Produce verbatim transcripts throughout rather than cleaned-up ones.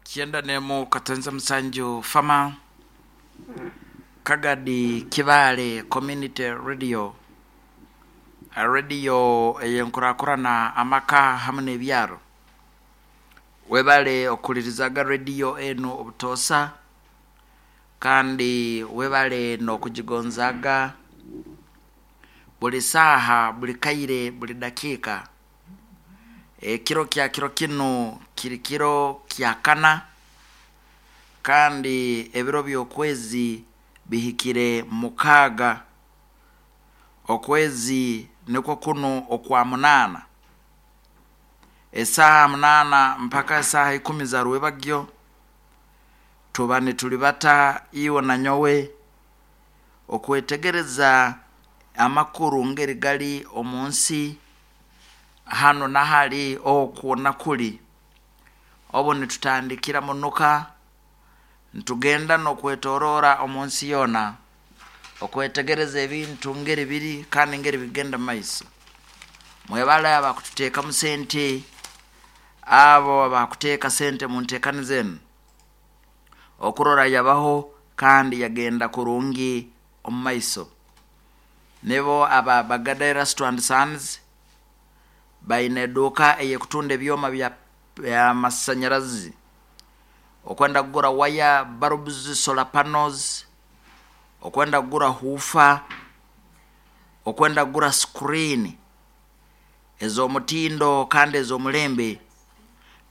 Kyenda nemu katenza musanju fama Kagadi Kibaale Community Radio, radio eyenkurakurana amaka hamu n'ebyaro. Webale okulirizaga radio enu obutoosa, kandi webale n'okugigonzaga buli saaha, buli kaire, buli dakiika. Ekiro kya kiro kinu kiri kiro kya kana, kandi ebiro by'okwezi bihikire mukaaga. Okwezi nikwo kunu okwa munaana, esaaha munaana mpaka esaaha ikumi za rwebagyo tuba nitulibata iwe na nyowe okwetegereza amakuru ngeri gali omu nsi hano nahali okwo nakuli. Obu nitutandikira munuka nitugenda n'okwetorora omu nsi yoona okwetegereza ebintu ngeri biri kandi ngeri bigenda mumaiso. Mwebale abakututeekamu sente, abo abakuteeka sente mu nteekaniza enu okurora yabaho kandi yagenda kurungi omu maiso. Nibo aba Bagada Erasto and Sons, baine eduuka eyekutunda ebyoma bya by'amasanyarazi, okwenda kugura waya, bulbs, solar panels, okwenda kugura huufa, okwenda kugura screen ez'omutindo kandi ez'omulembe,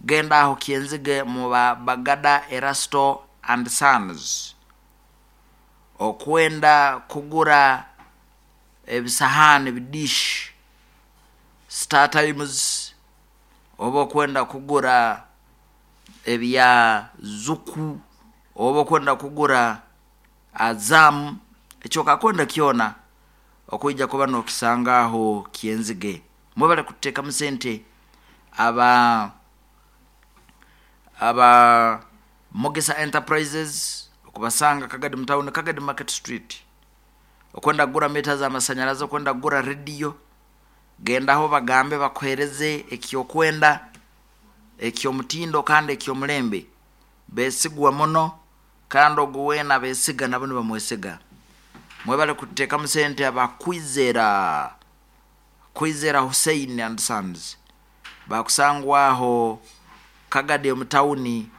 genda aho Kyenzige mu ba Bagada Erasto and Sons. Okwenda kugura ebisahaani bidish, Star Times, oba okwenda kugura ebya Zuku, oba okwenda kugura Azam, ekyo okakwenda kyona okwija kuba nokisanga aho Kyenzige. Mwebale kututeekamu sente aba aba Mugisa Enterprises, okubasanga Kagadi mu town, Kagadi Market Street. Okwenda kugura mita z'amasanyarazi, okwenda kugura rediyo, gendaho bagambe bakuheereze ekyokwenda eky'omutindo kandi eky'omulembe. Beesigwa muno kandi ogu weena abeesiga nabo nibamwesiga. Mwebale kututeekamu sente aba Kwizera, Kwizera Hussein and Sons, bakusangwa aho Kagadi omu tawuni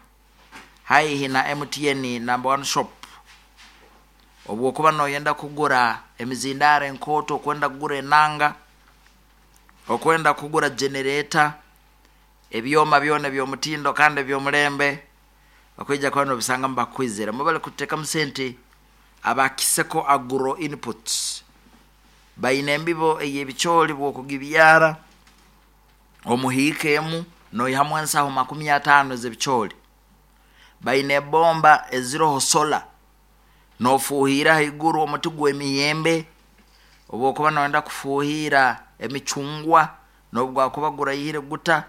haihi na M T N number one shop. Obwokuba noyenda kugura emizindaaro enkooto, okwenda kugura enanga, okwenda kugura generator, ebyoma byona eby'omutindo kandi eby'omulembe, okwija kuba nobisanga mubakwizera. Mwebale kututeekamu sente aba Kiseko Agro Inputs, baine embibo ey'ebicooli bw'okugibyara omuhiika emu noihamu ensaho makumi ataano ez'ebicooli. Baine ebomba eziroho sola, nofuuhira haiguru omuti gw'emiyembe, obwokuba noyenda kufuuhira emicungwa n'obu gwakuba guraihire guta,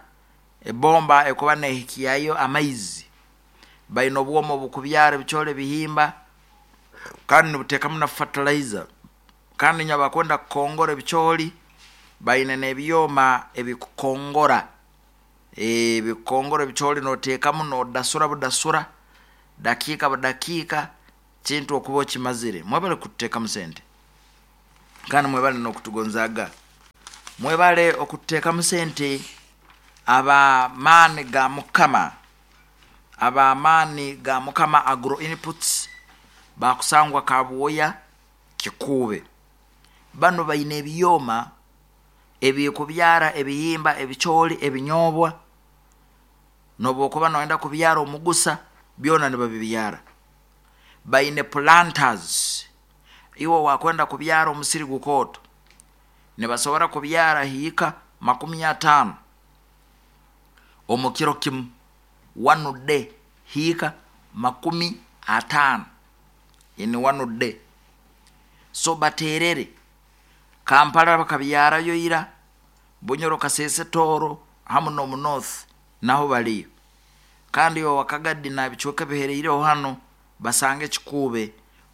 ebomba ekuba nehikyayo amaizi. Baine obwoma obukubyara ebicooli ebihimba kandi nibuteekamu na fertilizer. Kandi nyowe abakwenda kukongora ebicooli baine n'ebyoma ebikukongora, ebikukongora ebicooli noteekamu nodasura budasura dakiika budakiika kintu okuba okimazire. Mwebale kututeekamu sente kandi mwebale n'okutugonzaaga. Mwebale okututeekamu sente ab'amaani ga Mukama, ab'amaani ga Mukama Agro Inputs, bakusangwa Kabwoya Kikuube. Banu baine ebyoma ebikubyara ebihimba, ebicooli, ebinyoobwa, n'obwokuba noyenda kubyara omugusa byona nibabibyara. Baine planters, iwe wakwenda kubyara omusiri gukooto nibasobora kubyara hiika makumi ataano omu kiro kimu, one day, hiika makumi ataano in one day. So bateerere Kampala bakabyarayo ira, Bunyoro, Kasese, Tooro hamu n'omu North naho baliyo. Kandi iwe Wakagadi na bicweka ebihereireho hanu basange Kikuube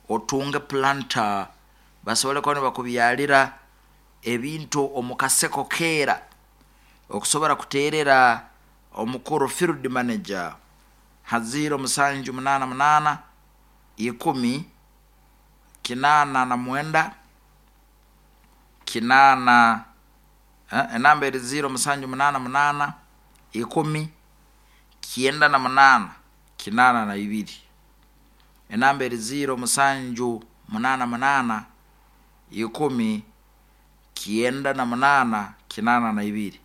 otunge planter basobole kuba nibakubyalira ebintu omu kaseko keera okusobora kuteerera omukuru field manager Ha ziro musanju munaana munaana ikumi kinaana na mwenda kinaana, eh, enamba eri ziro musanju munaana munaana ikumi kyenda na munaana kinaana na ibiri. Enamba eri ziro musanju munaana munaana ikumi kyenda na munaana kinaana na ibiri.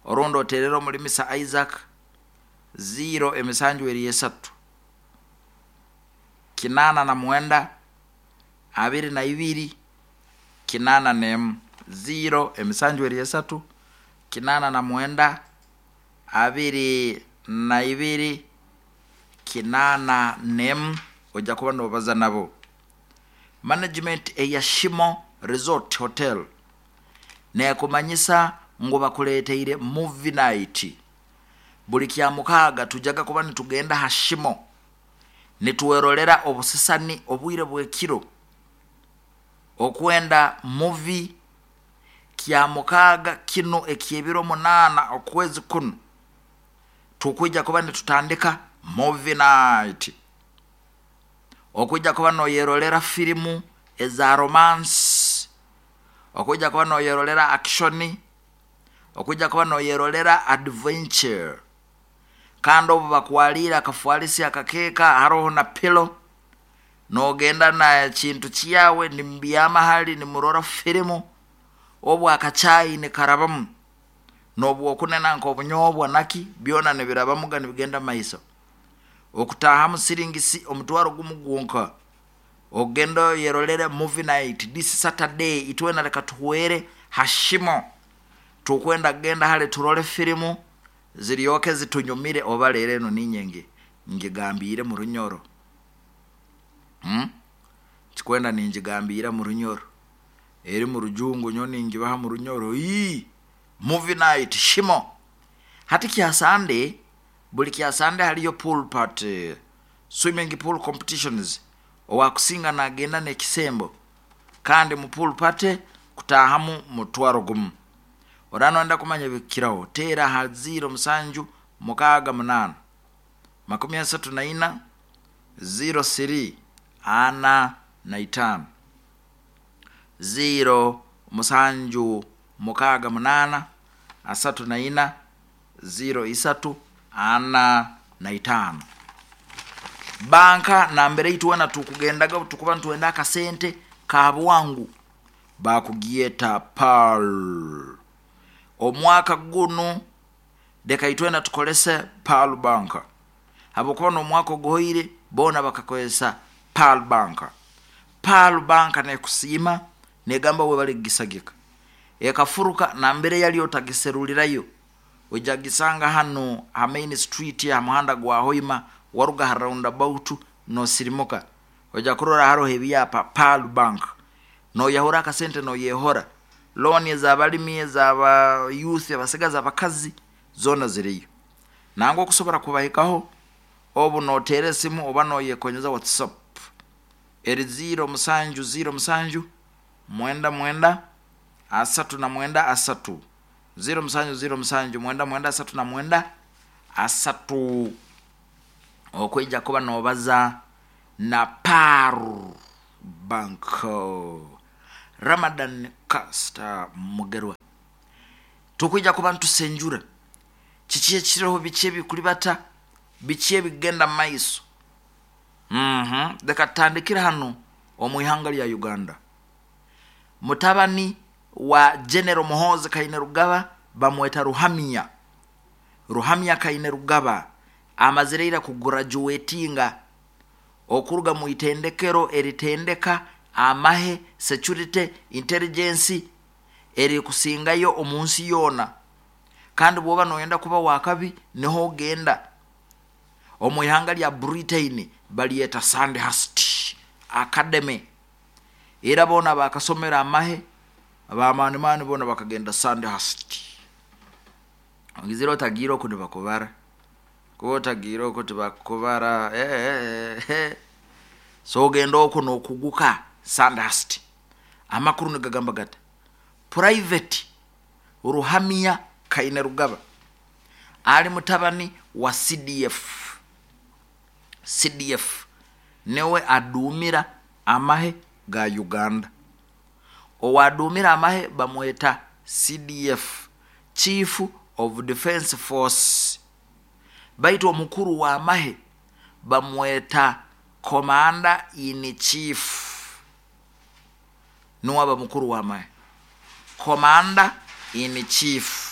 Orundi oterera omulimisa Isaac ziro emisanju eri esatu kinaana na mwenda abiri na ibiri kinaana nemu. Ziro emisanju eri esatu kinaana na mwenda abiri na ibiri kinaana nemu. Ojja kuba nobaza nabo. Management eya Shimo Resort Hotel nekumanyisa ngu bakuleteire movie night buli kya mukaaga. Tujaga kuba nitugenda ha Shimo nituwerolera obusisani obwire bwekiro okwenda movie. Kya mukaaga kino ekyebiro munaana okwezi kuno tukwija kuba nitutandika movie night, okwija kuba noyerolera firimu eza romance, okwija kuba noyerolera action, okwija kuba noyerolera adventure. Kandi obu bakwalire akafwalisi akakeeka haroho na pilo, nogenda na kintu kyawe nimubyama hali nimurora firimu, obu akachayi nikarabamu nobwokunena nk'obunyobwa naki byona nibirabamuga nibigenda maiso. Okutahamu siringisi omutwaro gumu gwonka ogenda oyerolere movie night this Saturday. Itwena leka tuhuere hashimo, tukwenda genda hale turole firimu ziryoke zitunyumire. Oba leero eno ninyenge ngigambire mu Runyoro, hmm? Kikwenda ningigambiira mu Runyoro, eri mu Rujungu nyo ningibaha mu Runyoro. Ii movie night Shimo. Hati kya Sunday, buli kya Sunday haliyo pool party, swimming pool competitions. Owakusinga nagenda n'ekisembo. Kandi mu pool party kutahamu mutwaro gumu. Orano kumanya bikiraho, teera ha ziro musanju mukaaga munaana makumi asatu na ina ziro siri ana na itaano. Ziro musanju mukaaga munaana asatu na ina ziro isatu ana na itaano. Banka nambere itwena tukugendaga tukuba nitwenda akasente ka bwangu bakugyeta Pearl. Omwaka guno leka itwena tukolese Pearl Bank, habwokuba n'omwaka oguhoire boona bakakozesa Pearl Bank. Pearl Bank nekusiima negamba webale kugisagika. Ekafuruka nambere yali otagiserulirayo, ojagisanga hano ha main street ha muhanda gwa Hoima, waruga ha roundabout nosirimuka, oja kurora haroho ebyapa Pearl Bank. Noyahura akasente, noyehora loan ez'abalimi, ez'aba youth, abasigazi, abakazi, zona ziriyo. Nangwa okusobora kubahikaho obu noteera esimu oba noyekonyeza WhatsApp, eri ziro musanju ziro musanju mwenda mwenda asatu na mwenda asatu. Ziro musanju ziro musanju mwenda mwenda asatu na mwenda asatu, okwija kuba nobaza na Pearl Bank. Ramadan Caster Mugerwa, tukwija kuba ntusenjura kiki ekiriho, biki ebikulibata, biki ebigenda maiso. mm leka tutandikire hano omu ihanga lya Uganda. Mutabani wa General Muhoozi Kainerugaba bamweta Ruhamya. Ruhamya Kainerugaba amazire ira kugraduatinga okuruga mu itendekero eritendeka amahe, security intelligence, eri kusingayo omu nsi yoona. Kandi bwoba noyenda kuba wakabi niho ogenda. Omu ihanga lya Britain balyeta Sandhurst Academy. Era boona bakasomera amahe abamanimani boona bakagenda Sandhurst. Ogizire otagiire oku nibakubara, kuba otagiire oku tibakubara. eh, eh, eh. So ogenda oku nokuguka Sandhurst. Amakuru nigagamba gata, Private Ruhamya Kainerugaba ali mutabani wa C D F. C D F niwe adumira amahe ga Uganda. Owadumira amahe bamweta C D F, Chief of Defense Force. Baitu omukuru wa amahe bamweta Commander in Chief. Nuwe aba mukuru wa amahe, Commander in Chief.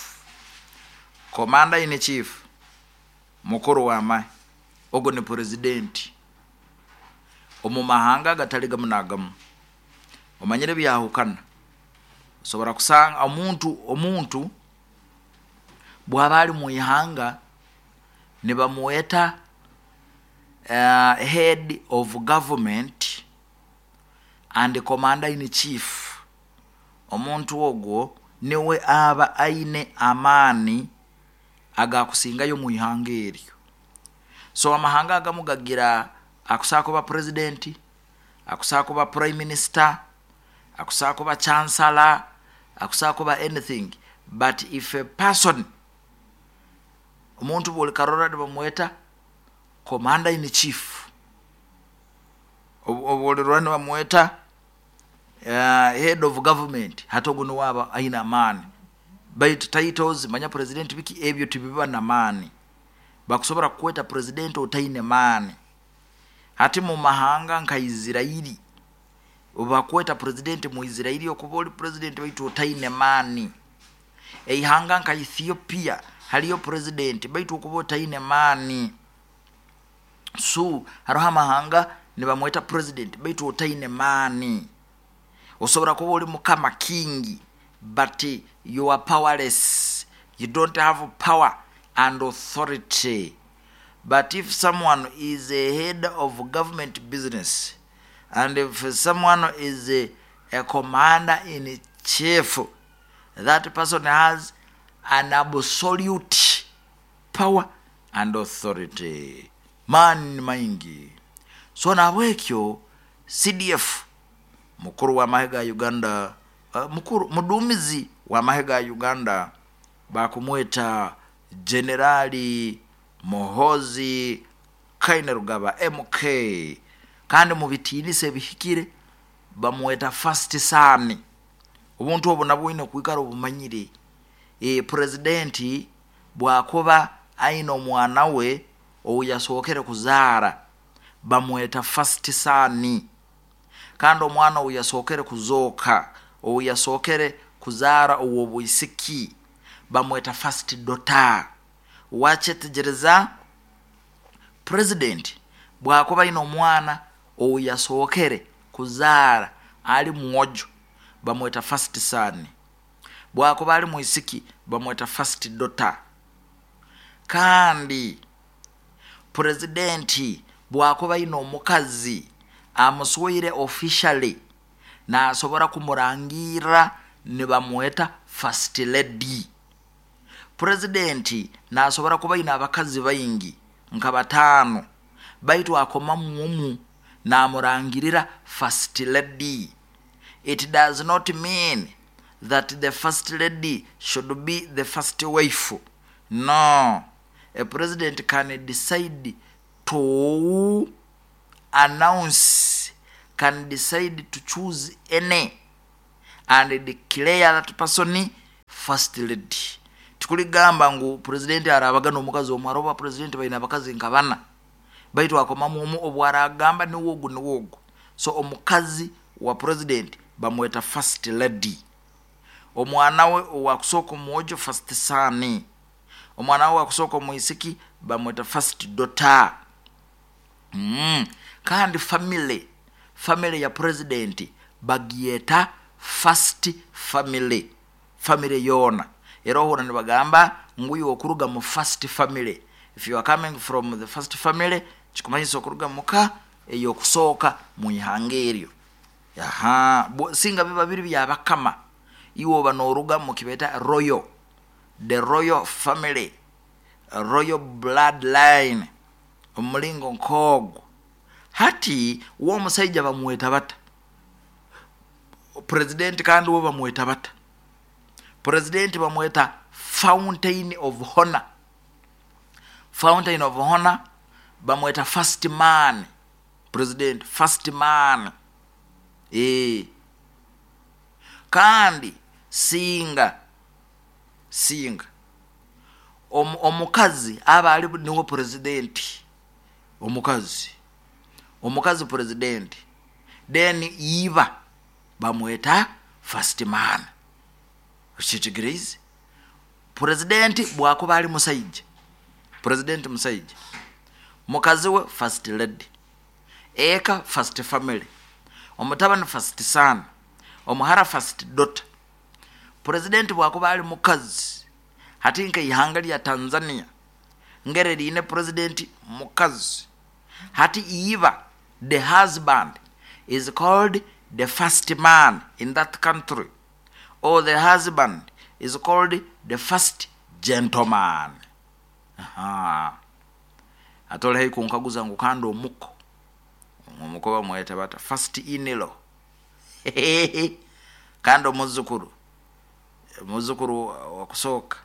Commander in Chief mukuru wa amahe ogo ni president omu mahanga gatali gamu nagamu. Omanyire byahukana. Osobora kusanga omuntu, omuntu bwaba ali mu ihanga nibamuweta, uh, head of government and commander in chief. Omuntu ogwo niwe aba aine amaani agakusingayo mu ihanga eryo. So amahanga agamu gagira akusaa kuba president, akusaa kuba prime minister, akusaa kuba chancellor, akusaa kuba anything. But if a person, omuntu buli karora nibamweta commander in chief, obulirwa nibamweta, uh, head of government, hata ogu niwe aba aine amaani. Baitu titles manya president biki ebyo tibiba na maani. Bakusobora kukweta president otaine maani. Hati mu mahanga nka Israeli, bakweta president mu Israeli okuba oli president baitu otaine maani. Eihanga nka Ethiopia haliyo president baitu okuba otaine maani. So hariho amahanga nibamweta president baitu otaine maani. Osobora kuba oli mukama king but you are powerless. You don't have power and authority. But if someone is a head of government business, and if someone is a, a commander in chief, that person has an absolute power and authority. Man maingi. So nabwekyo C D F mukuru wa mahe ga Uganda, uh, mukuru mudumizi wa mahe ga Uganda bakumweta Generali Muhoozi Kainerugaba M K. Kandi mu bitinise bihikire bamweta first son. Obuntu obu nabwo ine kwikara obumanyire. E, presidenti bwakuba aine omwana we oyasookere kuzaara bamweta first son. Kandi omwana oyasookere kuzooka, oyasookere kuzaara ow'obwisiki bamweta first daughter. Wachetegereza president bwakuba aine omwana oyasookere kuzaara ali mwojo bamweta first son. Bwakuba ali mwisiki bamweta first daughter. Kandi presidenti bwakuba aine omukazi amuswire officially nasobora kumurangira nibamweta first lady. Presidenti nasobora kuba aine abakazi baingi nka batano baitu akoma mumu namurangirira first lady. It does not mean that the first lady should be the first wife. No, a president can decide to announce, can decide to choose any and declare that person first lady. Tikuligamba ngu president arabaga n'omukazi omwe, aroba president baina abakazi nka bana baitu akoma mumu obwaragamba ni wogu ni wogu. So omukazi wa president bamweta first lady. Omwana we owakusooka omwojo first son. Omwana we owakusooka omwisiki bamweta first daughter. Mm. Kandi family, family ya president bagieta first family. Family yona. Era ohura nibagamba nguyu okuruga mu first family. If you are coming from the first family, kikumanyisa okuruga muka eyokusooka mu ihanga eryo. Aha, singa biba biri byabakama iwe oba n'oruga mu kibeta royal, the royal family, royal bloodline, omulingo nkogwo. Hati uwo omusajja bamweta bata president, kandi uwo bamweta bata president? Bamweta fountain of honor. Fountain of honor Bamweta first man, president first man. E. Kandi singa singa Om, omukazi aba ali niwe president, omukazi omukazi president, then iba bamweta first man. Okitegereize? President bwakuba ali musaija, president musaija, mukazi we first lady, eka first family, omutabani first son, omuhara first daughter. President bwakuba ali mukazi, hati nka ihanga lya Tanzania ngere liine president mukazi, hati iba the husband is called the first man in that country, or the husband is called the first gentleman. Aha. Atole hei kunkaguza ngu kandi omuko omuko bamweta bata? First in-law. Kandi omuzukuru, omuzukuru wakusooka,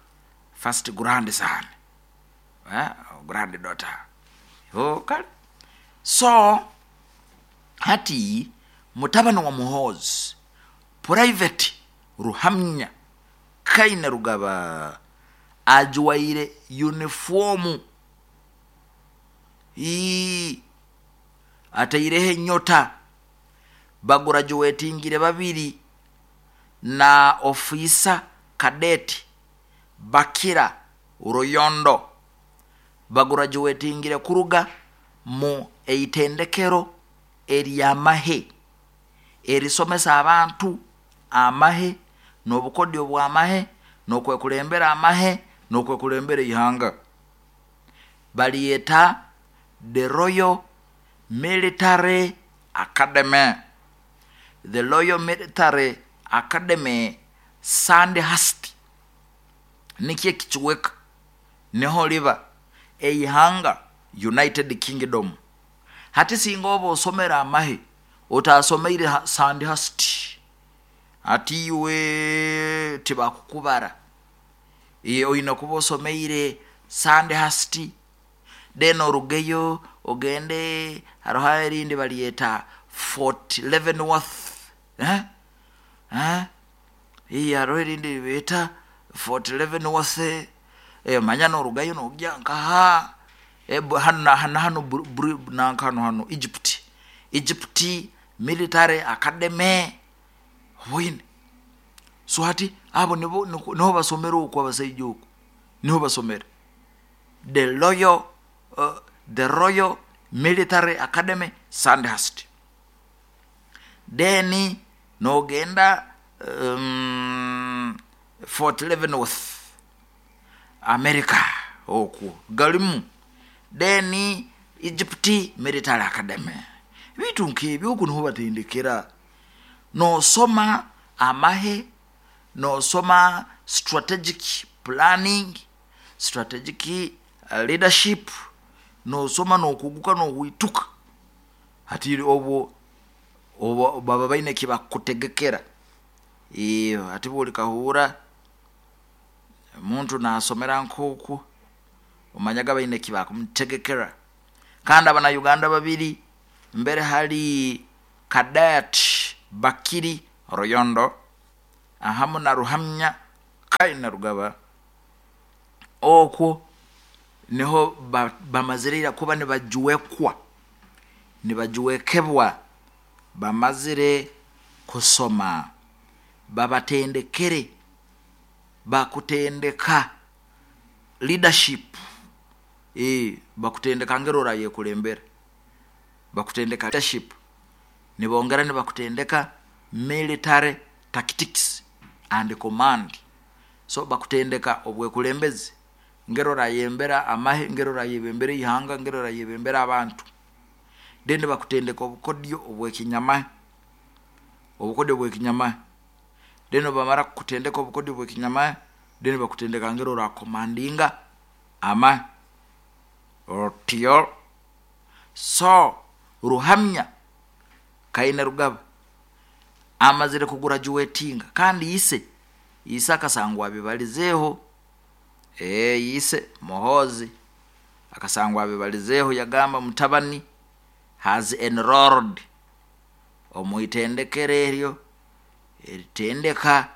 first grandson, eh? Grand daughter. Oh, kale so hati mutabani wa Muhoozi, Private Ruhamnya Kaine Rugaba, ajwaire uniformu, ii ataireho enyota, bagurajuwetingire babiri na ofisa cadet Bakira Ruyondo, bagurajuwetingire kuruga mu eitendekero eryamahe erisomesa abantu amahe n'obukodyo bw'amahe n'okwekulembera amahe n'okwekulembera ihanga, baliyeta the Royal Military Academy, the Royal Military Academy Sandhurst, nikyo ekikiweka niho liba eihanga United Kingdom. Hati singa oba osomera amahe otasomeire Sandhurst, ati iwe tibakukubara. Oine kuba osomeire Sandhurst, then orugeyo ogende haroho erindi balyeta Fort Leavenworth, eh? Eh? Iya, haroho erindi beeta Fort Leavenworth, eh, manya norugayo nogya nkaha, eh, hano hano hano nanka hano hano Egypt, Egypt Military Academy bwine. So hati abo nibo niho basomera okwo, abasaija okwo niho basomera the Royal, uh, the Royal Military Academy Sandhurst. Then nogenda um, Fort Leavenworth America okwo galimu, then Egypt Military Academy. Bintu nk'ebyo okwo niho batendekera, nosoma amahe, nosoma strategic planning, strategic leadership, nosoma nokuguka nohwituka. Hati obwo obwo baba baine kibakutegekera. Iyo hati buli kahura omuntu nasomera nkoku omanyaga baine kibakumutegekera. Kandi abana Uganda babiri mbere hali Cadet Bakiri Royondo ahamu na Ruhamnya Kaina Rugaba, okwo niho bamazirira kuba nibajuwekwa nibajuwekebwa, bamazire kusoma, babatendekere, bakutendeka leadership, eh bakutendeka ngero rayekulembera, bakutendeka leadership, nibongera nibakutendeka military tactics and command. So bakutendeka obwekulembezi, ngero rayembera amahe, ngero rayebembera ihanga, ngero rayebembera abantu. Then bakutendeka obukodyo obwekinyama, obukodyo obwekinyama. Then bamara kutendeka obukodyo obwekinyama, then bakutendeka ngero ra commandinga ama otyo. So Ruhamnya Kaine Rugaba amazire kugurajuwetinga, kandi ise ise akasangwa bibalizeho, eh ise Muhoozi Akasangwa abibalizeeho yagamba mutabani has enrolled omu itendekero eryo eritendeka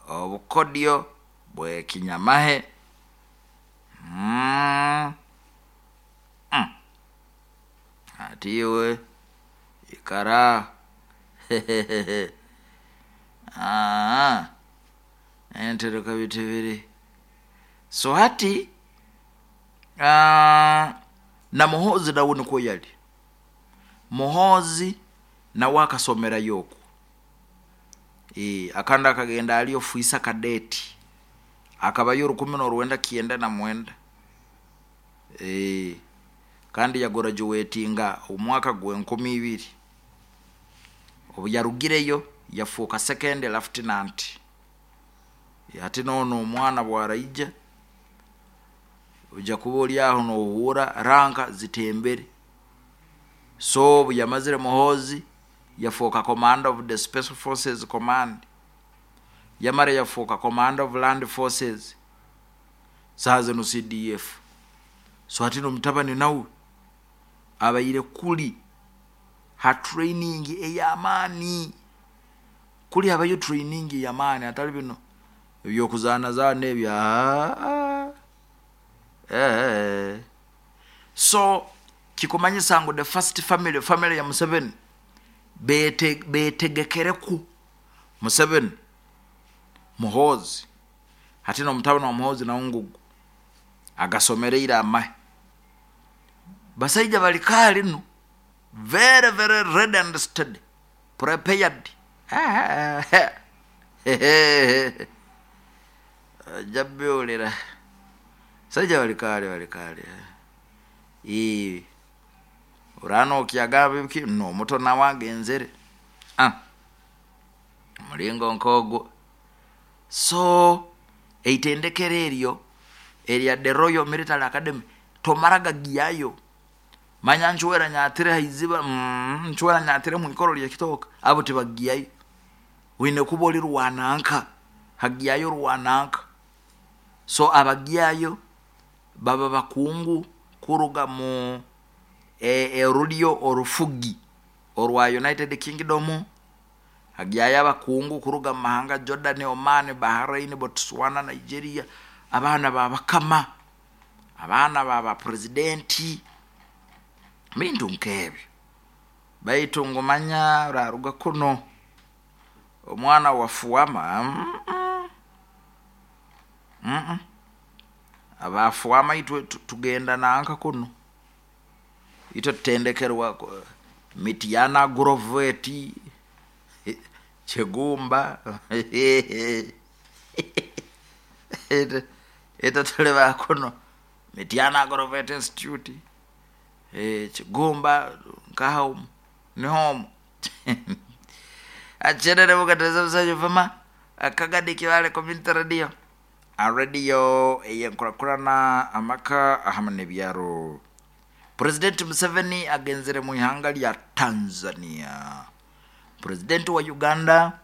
obukodyo bw'ekinyamahe. Mm. Mm. Ati iwe ikara Ah, entereka bitu biri so hati ah, na Muhoozi nawe nikwo yali. Muhoozi nawe akasomerayo okwo. E, akandi akagenda ali ofuisa kadeti akabayo rukumi n'orwenda kyenda na mwenda. E, kandi yagraduatinga omwaka gw'enkumi ibiri. Obu yarugireyo yafuuka second lieutenant. Hati noono omwana bwaraija ojja kuba oli aho nohuura ranka zitembere. So obu yamazire Muhoozi yafuuka commander of the special forces command, yamara yafuuka commander of land forces, saaha zinu C D F. So hati nomutabani nawe abaire kuli ha training ey'amaani, kuli habayo training ey'amaani, atali bino ebyokuzaanazaana ebyo. Eh. So kikumanyisa ngu the first family, family ya Museveni bete, betegekereku Museveni Muhoozi. Hati nomutabani wa Muhoozi nawe ngugu agasomereire amahe. Basaija bali kali nu very very ready and steady prepared. Jabiulira saija bali kali bali kali. Ii urano okyagamba biki no muto nawe agenzere. Ah, mulingo nkogwo. So eitendekero eryo erya the Royal Military Academy tomaraga giyayo. Manya nchwera nyatire haiziba, mm, nchwera nyatire mwikoro lya kitoka abo tibagiyayo. Wine kuba oli rwananka hagiyayo rwananka. So abagiyayo baba bakungu kuruga mu erulyo orufugi orwa United Kingdom. Hagiyayo abakungu kuruga mu mahanga Jordan, Oman, Bahrain, Botswana, Nigeria, abaana babakama, abaana baba presidenti, bintu nkebyo. Baitu ngumanya raruga kuno omwana wafuama mm -mm. Mm -mm. Abafuama itwe tugenda nanka kuno itwe tutendekerwa Mityana Groveti Chegumba ito tuleba kuno Mityana Grovet Institute eh Chegumba nkaha ni home. Acherere bukateza busajo fama akagadi kiwale community radio a radio eyenkurakurana amaka ahamane byaro. President Museveni agenzere mu ihanga lya Tanzania. President wa Uganda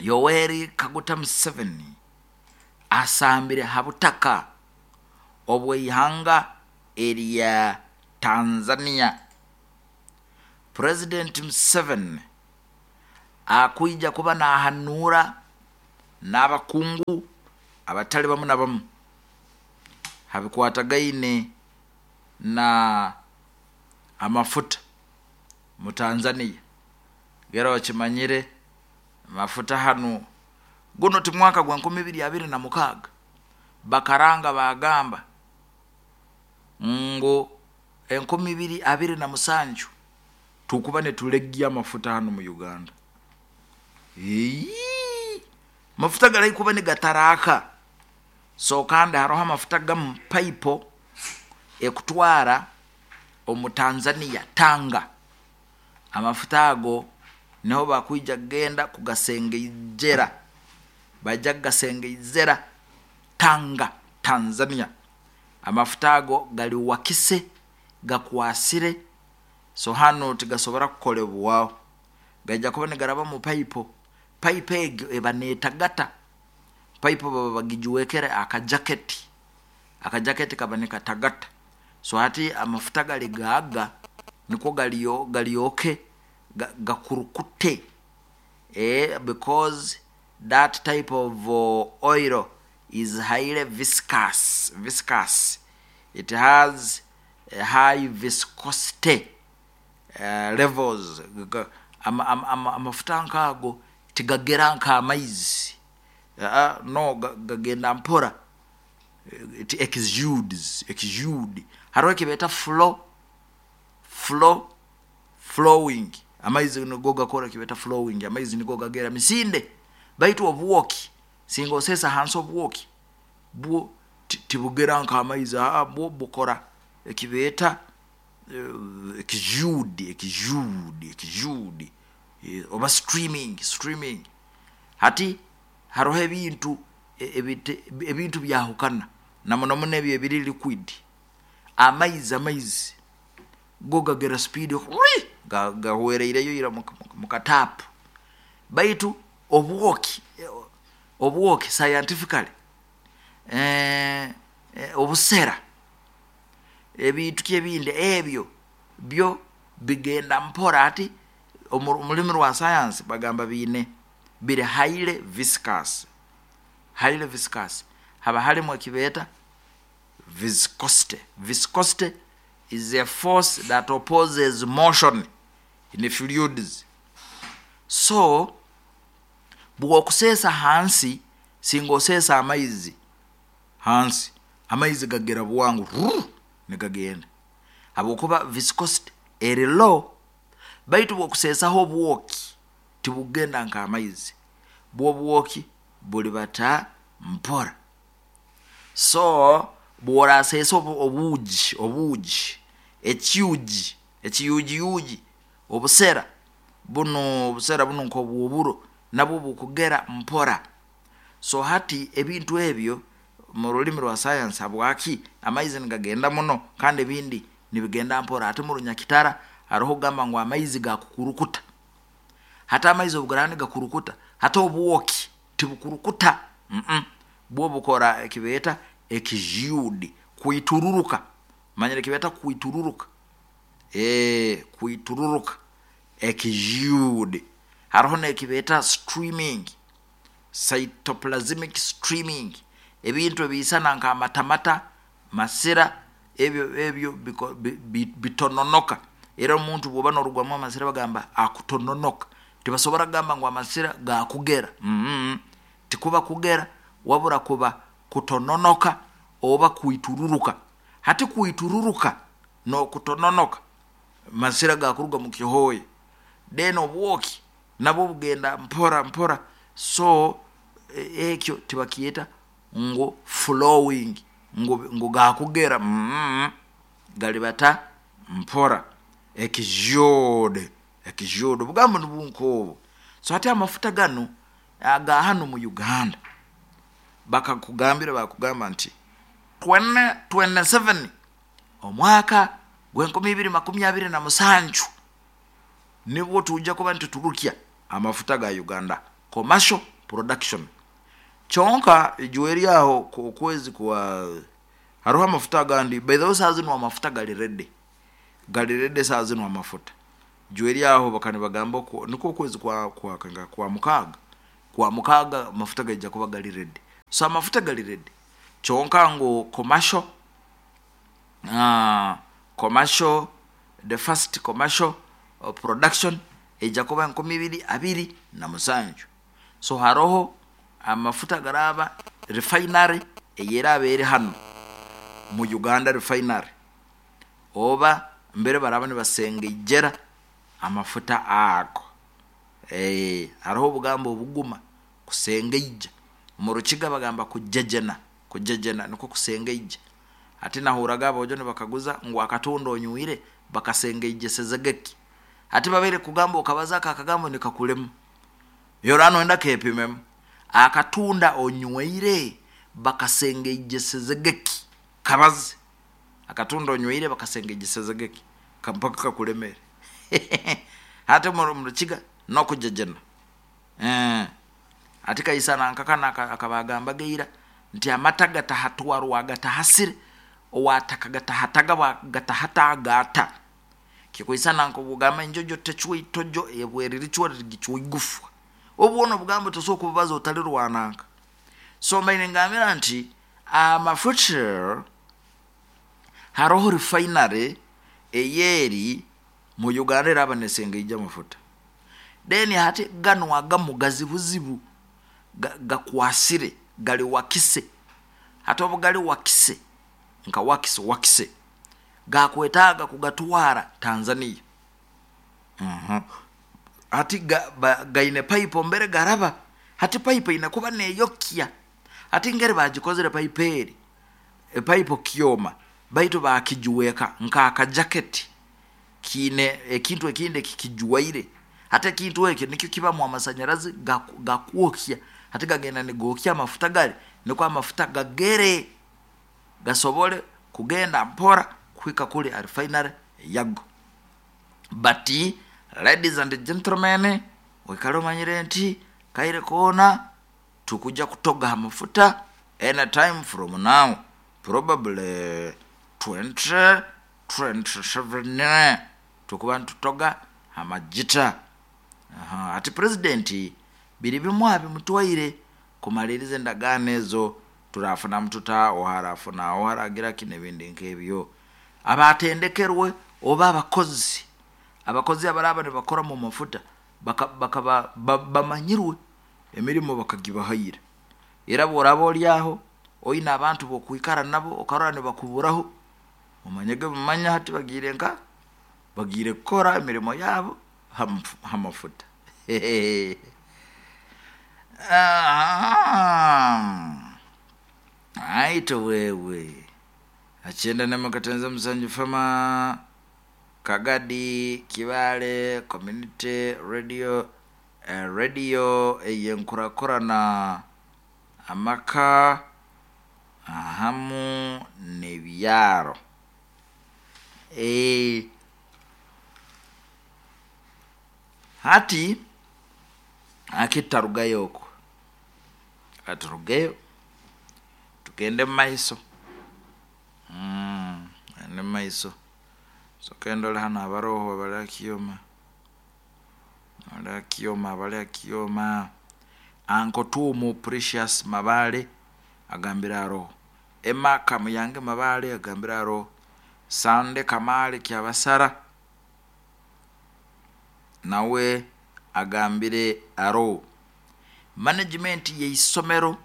Yoweri Kaguta Museveni asambire habutaka obwe ihanga erya Tanzania. President Museveni akuija kuba nahanura n'abakungu abatali bamu na bamu habikwatagaine na amafuta mu Tanzania. Gera wakimanyire mafuta hanu guno ti mwaka gwa nkumi ibiri abiri na mukaaga bakaranga bagamba ngo enkumi ibiri abiri na musanju tukuba ne tulegia mafuta hanu mu Uganda. Eee, mafuta galai kuba ni gataraka. So kandi haroho amafuta gamu paipo ekutwara omu Tanzania Tanga. Amafuta ago niho bakwija genda kugasengeijera, bajja kugasengeizera Tanga Tanzania. Amafuta ago gali wakise gakwasire, so hano tigasobora kukolebwaho, gajja kuba nigaraba mu paipo. Paipo egyo eba netagata, paipo baba bagijuwekere akajaketi Akajaketi kaba nikatagata. So hati amafuta gali gaaga nikwo galiyo galyoke gakurukute, eh, because that type of uh, oil is highly viscous viscous It has a high viscosity uh, levels. Amafuta ama, ama, amafuta nkaago tigagera nk'amaizi. uh, no gagenda mpora. It exudes exude. Hariho ekibeeta flow flow flowing. Amaizi nigo gakora ekibeeta flowing. Amaizi nigo gagera misinde, baitu obwoki singa osesa hansi, obwoki bwo tibugera nk'amaizi. Bwo bukora ekibeeta uh, exude exude exude oba streaming streaming. Hati hariho ebintu ebintu byahukana na muno muno ebyo ebiri liquid. Amaizi amaizi go gagera speed, gahwereireyo ira mu katapu. Baitu obwoki obwoki scientifically, eh, eh, obusera, ebintu kyebindi ebyo byo bigenda mpora. Ati omulimi rwa science bagamba biine biri highly viscous highly viscous Haba halimu ekibeeta viscosity. Viscosity is a force that opposes motion in fluids. So bwokuseesa hansi, singa oseesa amaizi hansi, amaizi gagera bwangu nigagenda habwokuba viscosity eri low. Baitu bwokuseesaho obwoki, tibugenda nk'amaizi, bwobwoki buli bata mpora. So bworaseesa obuugi obuugi ekyugi, ekiyugiyugi, obusera buno obusera buno nk'obwoburo, nabwo bukugera mpora. So hati ebintu ebyo mu rulimi rwa science, habwaki amaizi nigagenda muno kandi ebindi nibigenda mpora? Ati mu Runyakitara hariho kugamba ngu amaizi gakukurukuta. Hati amaizi obu nigakurukuta, hati obwoki tibukurukuta. mm -mm. Bwo bukora ekibeeta exude, kwitururuka. Manyire ekibeeta kwitururuka? e kwitururuka, exude. Hariho n'ekibeeta streaming, cytoplasmic streaming. Ebintu ebiisana nk'amatamata, masira, ebyo ebyo bitononoka. Era omuntu bwoba norugwamu amasira bagamba akutononoka. Tibasobora kugamba ngu amasira gakugera. mm -hmm. Tikuba kugera, wabura kuba kutononoka oba kwitururuka. Hati kwitururuka n'okutononoka, masira gakuruga mu kihooya. Then obwoki nabwo bugenda mpora mpora. So ekyo tibakyeta ngu flowing, ngu, ngu gakugera. mm -hmm. Galibata mpora, exude exude obugambo nibunka. So hati amafuta ganu aga hano mu Uganda, bakakugambira, bakugamba nti twenty twenty-seven, omwaka gw'enkumi ibiri makumi abiri na musanju, nibwo tujja kuba nituturukya amafuta ga Uganda, commercial production. Kyonka ijuwe eryaho okwezi kwa hariho amafuta agandi. By the way, saa zinu amafuta gali ready gali ready saa zinu amafuta. Ijuwe eryaho bakani bagamba niko okwezi kwa kwa, kwa, kwa mukaaga kwa mukaaga amafuta gaija kuba gali ready. So amafuta gali ready, kyonka ngu commercial uh, commercial the first commercial uh, production ejja kuba enkumi ibiri abiri na musanju. So haroho amafuta garaba refinery eyeraba eri hano mu Uganda, refinery oba mbere baraba nibasengeijera amafuta ago. e, hariho obugambo obuguma, kusengeija. Mu Rukiga bagamba kujejena. Kujejena niko kusengeija. Ati nahuraga abojo nibakaguza ngu akatunda onywire bakasengeijesezegeki. Ati babaire kugamba okabaza aka akagambo nikakulema yorano, enda kepimemu. Akatunda onyweire bakasengeijesezegeki? Kabaze, akatunda onyweire bakasengeijesezegeki? Mpaka kakulemere. Hati mu Rukiga nokujejena, eh. Ati kaisana nkakana akabagamba geira. Nti amata gatahatwarwa gatahasire, owataka gatahatagabwa gatahatagata. Kikwisana nkobugamba enjojo tecwa itojo, ebweririchwa rigichwa igufwa. Obwono obugambo tosobola kububaza otalirwananga. So mbaire ngambira nti amafuta haroho refinery eyeri mu Uganda eraba nesengeija amafuta. Then hati ganu agamu gazibuzibu, gakwasire, gali wakise. Hati obu gali wakise, nka wakise wakise, gakwetaaga kugatwara Tanzania. uh-huh. Hati ga, ba, gaine pipe mbere garaba, hati pipe ine kuba neyokya. Hati ngeri bagikozere pipe eri, epipe kyoma, baitu bakijuweka nk'akajaketi kiine ekintu ekindi ekikijuwaire. Hati ekintu ekyo nikyo kibamu amasanyarazi gakwokya. Hati gagenda nigokya amafuta gari, nikwo amafuta gagere gasobole kugenda mpora kuhika kuli refinery yago. But ladies and gentlemen, oikale omanyire nti kaire koona tukuja kutoga amafuta anytime from now, probably twenty twenty-seven tukuba nitutoga amagita. Aha, ati president biri bimu abimutwaire kumaliriza endagaano ezo, turafuna mututa oharafuna oharagira kino ebindi nk'ebyo. Abatendekerwe oba abakozi, abakozi abaraba nibakora mu mafuta bakaba bamanyirwe emirimo bakagibahaire. Era bworaba oli aho oine abantu bokwikara nabo okarora nibakuburaho, omanyege mumanya hati bagiire nka bagiire kukora emirimo yabo hamafuta. Aito wewe achenda namakatenza musanju fama Kagadi Kibale Community Radio, eh, radio eyenkurakurana amaka ahamu n'ebyaro. Eh, hati akitarugayo okwo, aturugeyo tugende mumaiso. Mm, ende mumaiso. So kendole hano abaroho abali akioma, abali akioma, abali akioma. Anko Tumu Precious Mabale agambira aroho. Emma Kamuyange Mabale agambira aroho. Sande Kamale Kyabasara nawe agambire aroho. Management yeisomero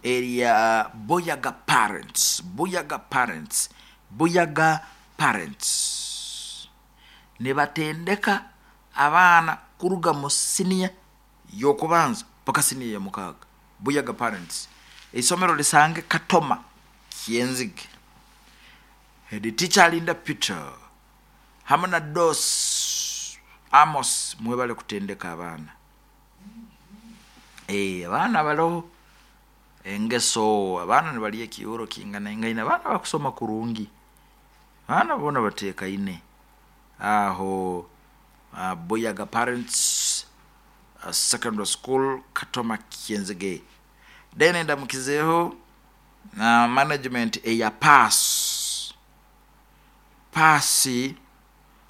erya Buyaga Parents, Buyaga Parents, Buyaga Parents nibatendeka abaana kuruga mu siniya y'okubanza paka siniya ya mukaaga. Buyaga Parents eisomero lisange Katoma Kyenzige, head teacher Linda Peter hamwe na Dos Amos mwebale kutendeka abaana. Eh, abaana baloho engeso, abaana nibalya ekiuro kinganaingaine, abaana bakusoma kurungi, abaana boona bateekaine aho. uh, Buyaga Parents uh, Secondary School Katoma Kyenzige. Then ndamukizeho na management eya PASS, PASS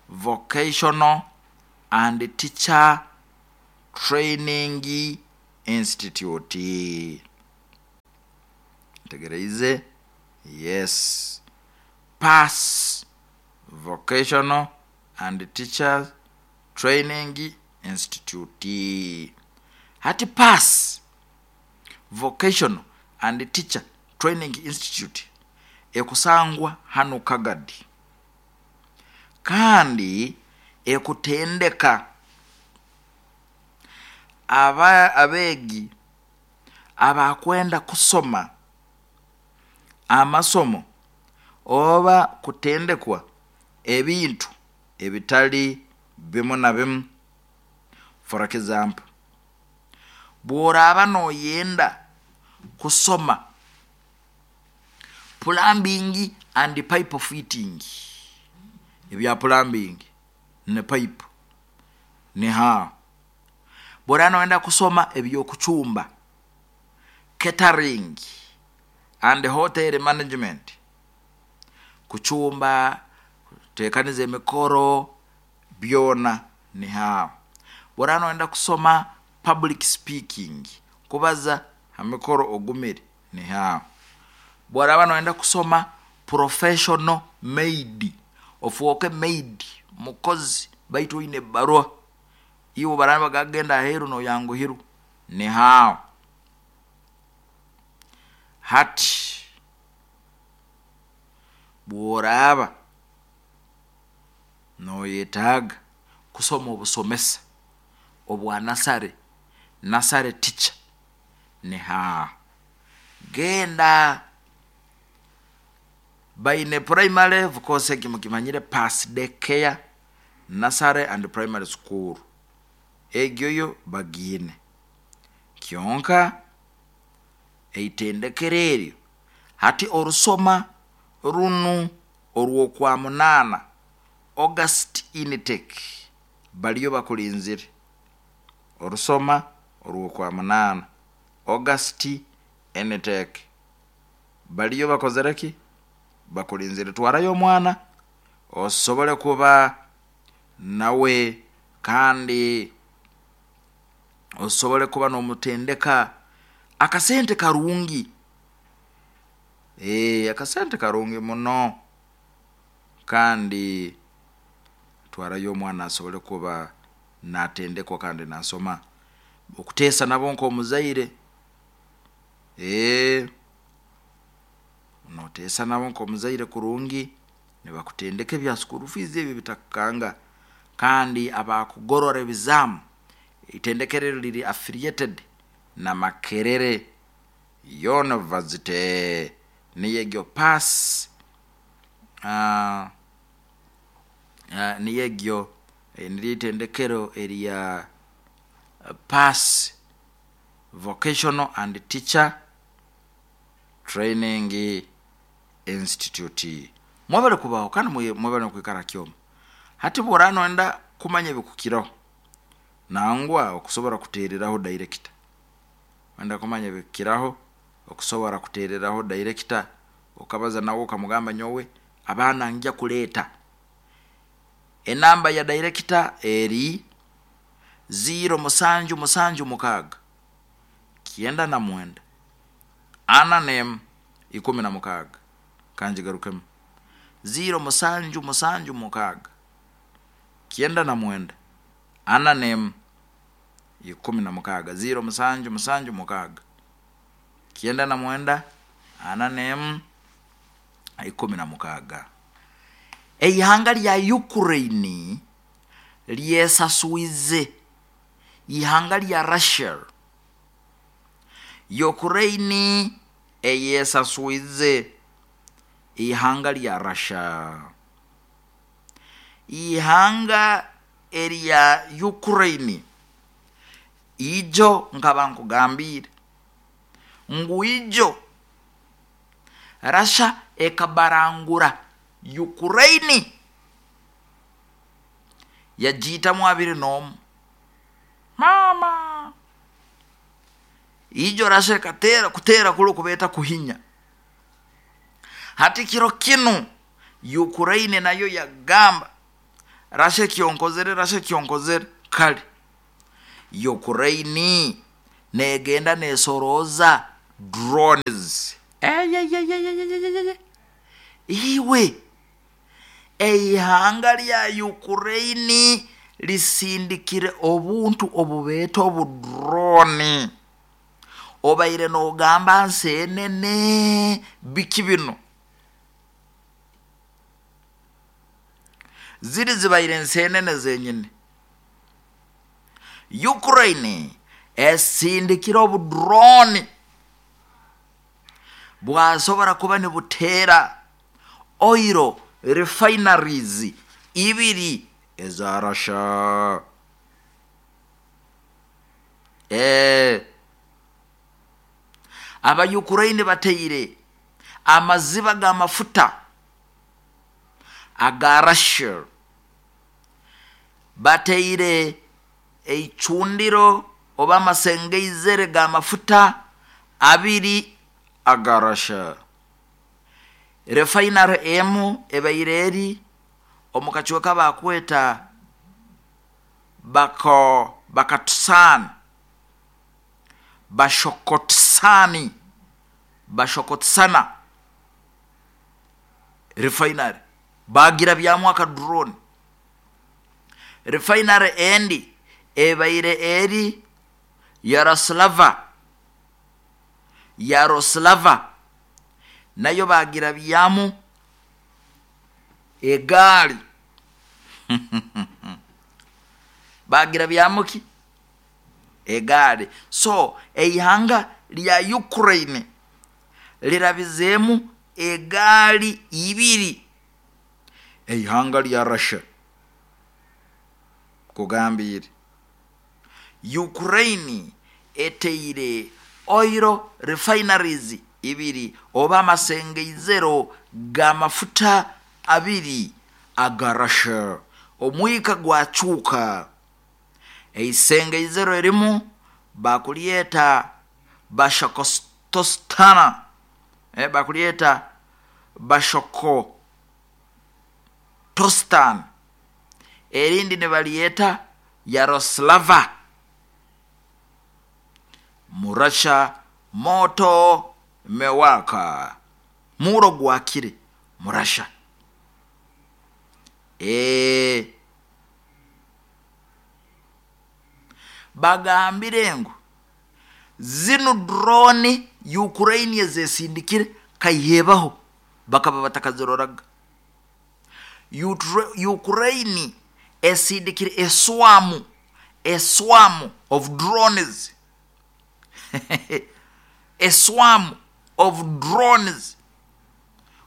Vocational and Teacher Training Institute. Tegereize, yes, PASS Vocational and Teacher Training Institute. Hati PASS Vocational and Teacher Training Institute ekusangwa hano Kagadi, kandi ekutendeka aba abeegi abakwenda kusoma amasomo oba kutendekwa ebintu ebitali bimu na bimu. For example, bworaba noyenda kusoma plumbing and pipe fitting, ebya plumbing ne pipe ne ha, bworaba noyenda kusoma ebyokuchumba, catering, and hotel management, kucumba, kuteekaniza emikoro, byona niho aho. Bw'oraaba noyenda kusoma public speaking, kubaza ha mikoro ogumire, niho aho. Bw'oraaba noyenda kusoma professional maid, ofooke maid, mukozi baitu oine ebbaruha, iwe obu baraaba nibagamba genda aheeru noyanguhirwa, niho aho. Hati bw'oraaba noyetaaga kusoma obusomesa obwa nasare, nursery teacher, niho aho. Genda baine primary, of course eki mukimanyire, Pass Day Care Nursery and Primary School, egyo yo bagiine. Kyonka eitendekero eryo hati orusoma runu orw'okwa munaana, August intake, baliyo bakulinzire. Orusoma orw'okwa munaana, August intake, baliyo bakozere ki? Bakulinzire. Twarayo omwana osobole kuba nawe kandi osobole kuba n'omutendeka akasente karungi, ee akasente karungi muno, kandi twarayo omwana asobole kuba naatendekwa kandi naasoma. Okuteesa nabo nk'omuzaire, ee nooteesa nabo nk'omuzaire kurungi, nibakutendeka ebya school fees ebi bitakukanga, kandi abakugorora ebizaamu, itendekero eri riri affiliated na Makerere University, niyo egyo Pass, uh, uh, niyo egyo niryo itendekero erya Pass Vocational and Teacher Training Institute. Mwebale kubaho kandi mwebale kwikara kyoma. Hati bw'oraaba noyenda kumanya ebikukiraho, nangwa okusobora kuteereraho director, wenda kumanya ebikukiraho, okusobora kuteereraho director, okabaza nawe okamugamba nyowe abaana ngya kuleeta. Enamba ya director eri ziro musanju musanju mukaaga kyenda na mwenda ana n'emu ikumi na mukaaga. Kangigarukemu, ziro musanju musanju mukaaga kyenda na mwenda ana n'emu ikumi na mukaaga, ziro musanju musanju mukaaga kyenda na mwenda ana n'emu ikumi na mukaaga. Eihanga lya Ukraine lyesaswize ihanga lya Russia. Ukraine eyesaswize ihanga lya Russia. Ihanga erya Ukraine ijo nkaba nkugambiire ngu ijo Russia ekabarangura Ukraine yagiitamu abiri n'omu. Maama, ijo Russia ekateera kuteera kuli okubeeta kuhinya. Hati kiro kinu Ukraine nayo yagamba Russia ekyonkozere, Russia ekyonkozere. Kale Ukraine negenda nesorooza drones. Eyeyeyeyeyeye, iwe eihanga lya Ukraine lisindikire obuntu obubeeta obudrone, obaire noogamba nseenene biki bino, ziri zibaire nseenene zenyini. Ukraine esindikire obudrone bwasobora kuba nibuteera oil refineries ibiri eza Russia. Ee aba Ukraine bateire amaziba g'amafuta aga Russia, bateire eicundiro oba amasengeizere g'amafuta abiri aga Russia. Refinery emu ebaire eri omu kacweka bakweta bako bakatusani bashokotsani bashokotsana refinery bagira byamu aka drone. Refinery endi ebaire eri Yaroslava Yaroslava nayo bagira byamu egaali bagira byamuki egaali. So eihanga lya Ukraine lirabizeemu egaali ibiri. Eihanga lya Russia kugambire Ukraine eteire oil refineries ibiri oba amasengeizero g'amafuta abiri aga Russia. Omwika gwacuuka. Eisengeizero erimu bakulyeta bashokotostana eh, bakulyeta bashokotostan, erindi nibalyeta Yaroslava. Murasha moto mewaka, muro gwakire murasha. E bagambire ngu zinu drone Ukraine ezesindikire kaihebaho bakaba batakaziroraga. Ukraine esindikire eswamu a swarm of drones a swarm of drones.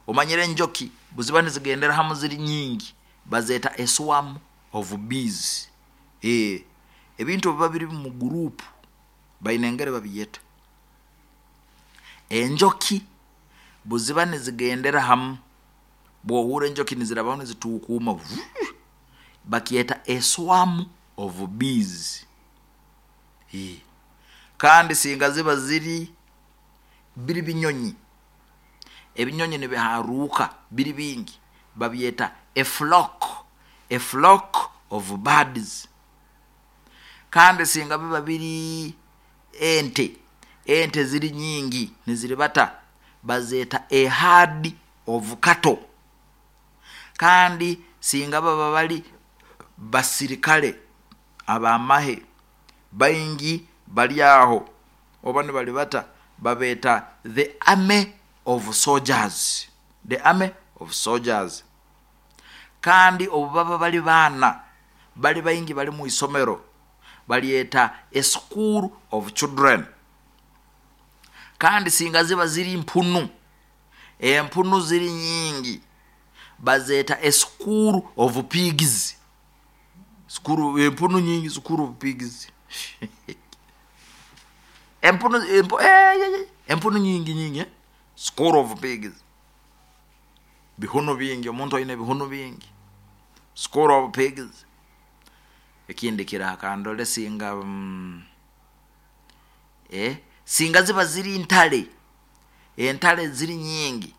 Omanyire enjoki buziba nizigendera hamu ziri nyingi bazeta a swarm of bees. E ebintu biba biri mu group baine engeri babiyeta. Enjoki buziba nizigendera hamu, bwohura enjoki nizirabaho nizituukuma, bakyeta a swarm of bees. E kandi singa ziba ziri biri binyonyi, ebinyonyi nibiharuka biri bingi, babyeta a flock, a flock of birds. Kandi singa biba biri ente, ente ziri nyingi niziribata, bazeta a herd of cattle. Kandi singa baba bali basirikale abamahe baingi bali aho oba nibalibata, babeta the army of soldiers, the army of soldiers. Kandi obu baba bali baana bali baingi bali mu isomero, balyeta a school of children. Kandi singa ziba ziri mpunu, empunu ziri nyingi, bazeta a school of pigs. School empunu nyingi, school of pigs. Empunu empu, eh, eh, empunu nyingi nyingi eh? School of pigs. Bihuno bingi, omuntu aine bihuno bingi. School of pigs. Ekindi kirakandole singa mm, eh singa ziba ziri ntale, entale ziri nyingi,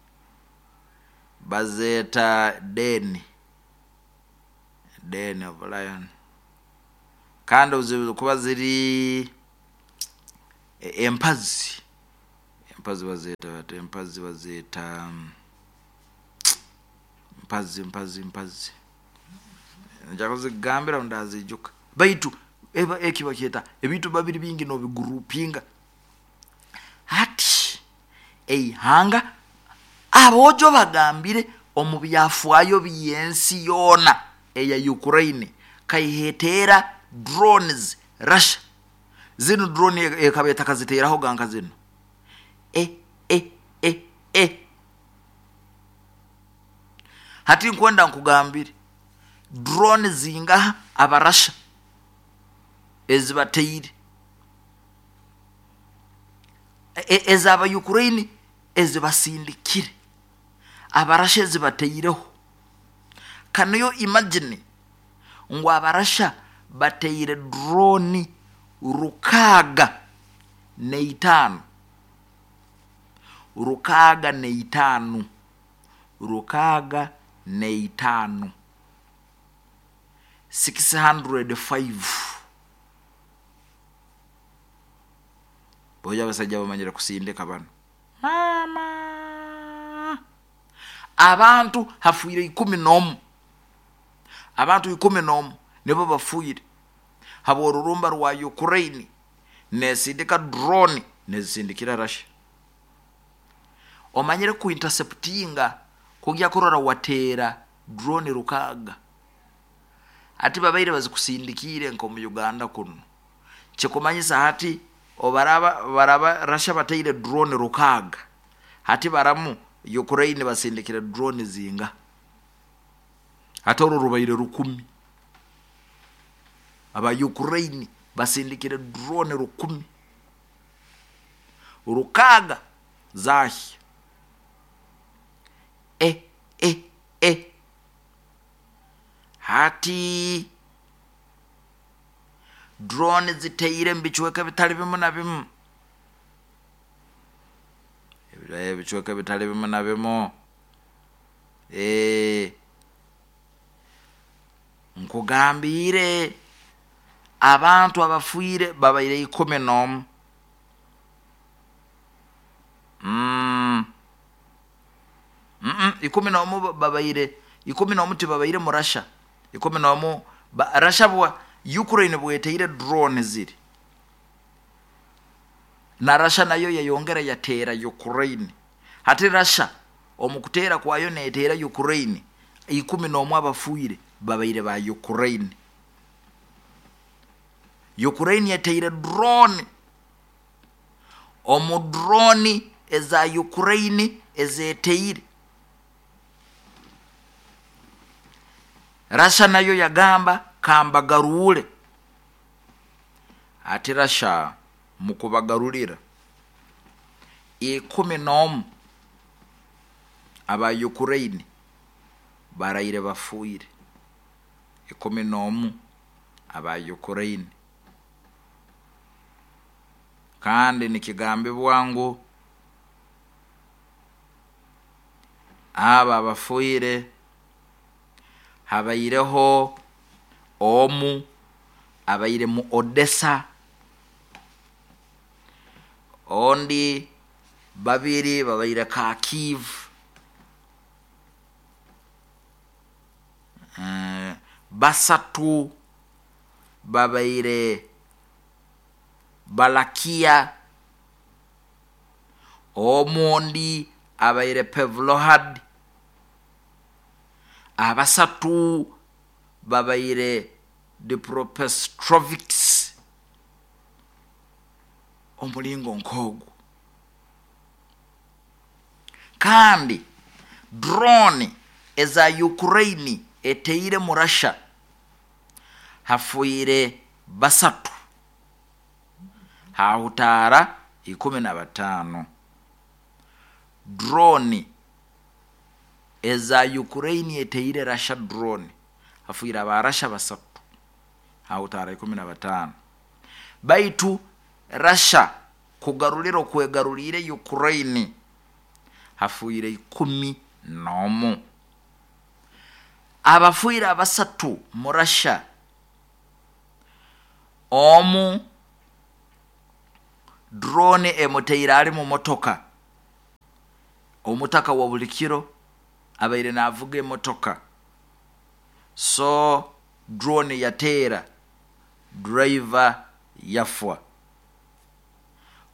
bazeta den, den of lion. Kandi kuba ziri empazi, empazi bazeta bate, empazi bazeta mpazi mpazi mpazi nja kuzigambira ndazijuka. Baitu eba ekiba kyeta ebintu babiri bingi nobigurupinga. Hati eihanga abojo bagambire omu byafaayo by'ensi yoona eya Ukraine kaihetera drones Russia. Zino drone ekaba etakaziteraho ganka zino e e e e. Hati nkwenda nkugambire drone zingaha abarasha ezibateire, ezaba Ukraine ezibasindikire, abarasha ezibateireho. Can you imagine ngu abarasha bateire drone rukaga neitano, rukaaga n'eitaano, rukaaga n'eitaano, six hundred five. Boja abasajja bamanyire kusindika bano mama. Abantu hafuire ikumi n'omu, abantu ikumi n'omu nibo bafuire habw'orurumba rwa Ukraine nesindika drone nezisindikira Russia. Omanyire ku interceptinga kugya kurora wateera drone rukaaga, ati babaire bazikusindikiire nk'omu Uganda kuno, kikumanyisa hati obaraba baraba Russia bateire drone rukaaga, hati baramu Ukraine basindikire drone zinga, hati orwo rubaire rukumi. Aba Ukraine basindikire drone rukumi, rukaaga zahya. E e e hati drone ziteire mu bicweka bitali bimu na bimu, ebicweka bitali bimu na bimu. E nkugambiire abantu abafuire babaire ikumi n'omu. Mm. Mm -mm. Ikumi n'omu babaire ikumi n'omu tibabaire mu Russia, ikumi n'omu Russia bwa Ukraine bweteire drone ziri, na Russia nayo yayongera yateera Ukraine. Hati Russia omu kuteera kwayo neteera Ukraine, ikumi n'omu abafuire babaire ba Ukraine. Ukraine yateire drone, omu drone eza Ukraine ezeteire, Russia nayo yagamba kambagarule. Ati Russia mukubagarulira ikumi n'omu aba Ukraine baraire bafuire, ikumi n'omu aba Ukraine. Kandi nikigambibwa ngu aba abafuire habaireho omu abaire mu Odessa, ondi babiri babaire Kharkiv, uh, basatu babaire Balakia, omundi abaire Pevlohad, abasatu babaire Dnipropetrovsk. Omulingo nk'ogwo. Kandi drone eza Ukraine eteire mu Russia hafuire basatu, hahutaara ikumi na bataano. Drone eza Ukraine eteire Russia drone hafuire aba Russia basatu, hahutaara ikumi na bataano. Baitu Russia kugarulira okwegarulire Ukraine hafuire ikumi n'omu. Abafuire abasatu mu Russia, omu drone emuteire ali mu motoka, omutaka wa buli kiro abaire navuga emotoka, so drone yateera driver yafwa.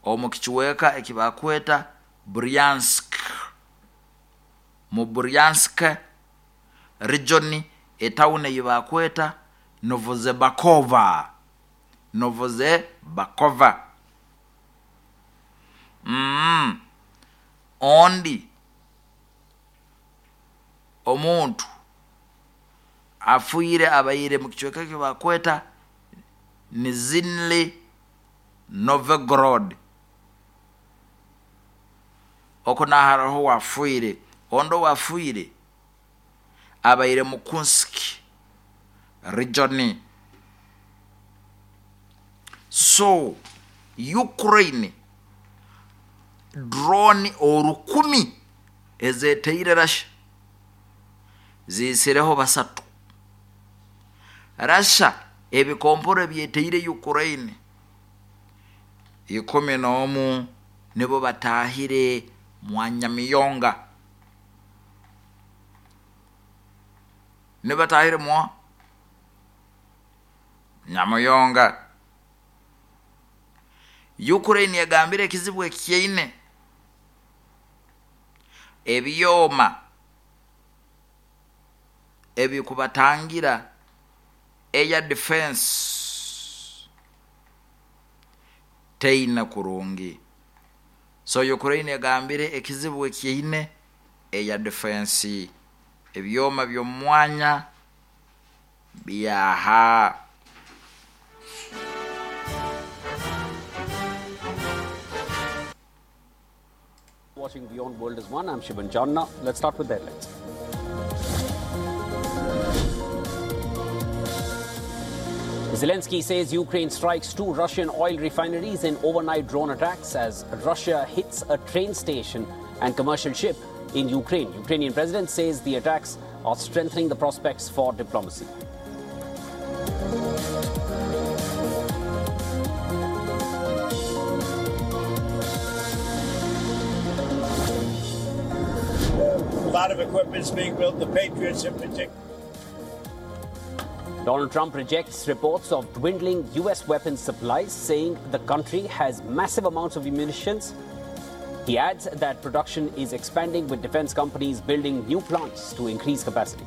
Omu kichweka ekibakweta Bryansk, mu Bryansk region, etawuni eyibakweta Novozebakova, Novozebakova. Mm. Ondi omuntu afuire abaire mu kichweka ekibakweta Nizhny Novgorod, oko naharaho wafuire. Ondi wafuire abaire mu Kursk region. So Ukraine Drone orukumi ezeteire Russia ziisireho basatu. Russia ebikomporo ebyeteire Ukraine ikumi n'omu nibo batahire mwanyamiyonga, nibatahire mwa nyamuyonga. Ukraine yagambire ekizibu ekyaine ebyoma ebikubatangira air defense teina kurungi. So Ukraine yagambire ekizibu ekyaine air defense, ebyoma by'omwanya byaha. Watching Beyond World is One, I'm Shivan Janna. Let's start with the headlines. Zelensky says Ukraine strikes two Russian oil refineries in overnight drone attacks as Russia hits a train station and commercial ship in Ukraine. Ukrainian president says the attacks are strengthening the prospects for diplomacy. A lot of equipment's being built, the Patriots in particular. Donald Trump rejects reports of dwindling U S weapons supplies, saying the country has massive amounts of munitions. He adds that production is expanding, with defense companies building new plants to increase capacity.